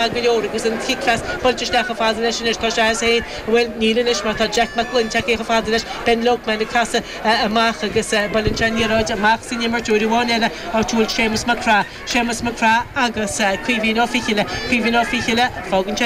Go leor agus an cic phas buailte isteach chomh fada leis anois. Tá sé as féin, bhuel, níl anois mar tá Jack Mac Gloinn tagtha chomh fada leis. Ben Loughnane ag casadh amach agus buaileann sé an liathróid amach san imirt uair amháin eile áit a bhfuil Séamus Mac Craith. Séamus Mac Craith agus Caoimhín Ó Fichille. Caoimhín Ó Fichille, fágann sé.